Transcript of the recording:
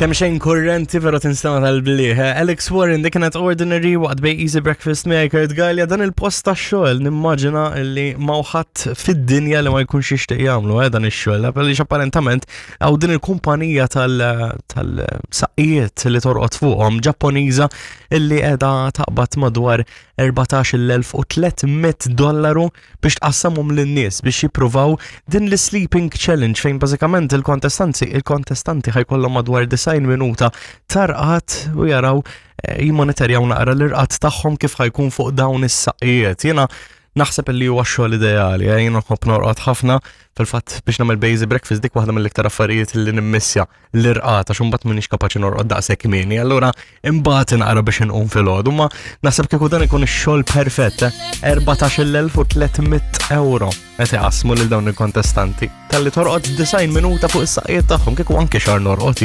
Kemm xejn kurrenti pero tinstema tal-bliħ. Eh? Alex Warren dik kienet Ordinary waqt bej Easy Breakfast miegħi Kurt Gallia dan il-post tax-xogħol nimmaġina li mawħadd fid-dinja li ma jkunx jixtieq jagħmlu eh, dan ix-xogħol. Għaliex apparentament hawn din il-kumpanija tal-saqqijiet li torqod fuqhom Ġapponiża illi qiegħda taqbad madwar 14,300 dollaru biex tqassamhom lin-nies biex jippruvaw din l-sleeping challenge fejn bażikament il-kontestanti il-kontestanti ħajkollhom madwar 90 minuta tarqat u jaraw eh, jimmonitorjaw naqra l-irqat tagħhom kif ħajkun fuq dawn is-saqqijiet. Jiena naħseb li huwa xogħol ideali, eh, jiena nħobb norqod ħafna fil-fatt biex nagħmel basic breakfast dik waħda mill-iktar affarijiet li nimmissja l-irqad għax imbagħad m'iniex kapaċi norqod daqshekk kmieni, allura imbagħad inqara biex inqum filgħodu, ma naħseb kieku dan ikun ix-xogħol perfett, 14,300 eh? euro qed iqassmu lil dawn il-kontestanti. Talli torqod 90 minuta fuq is-saqqijiet tagħhom kieku anke xahar norqod.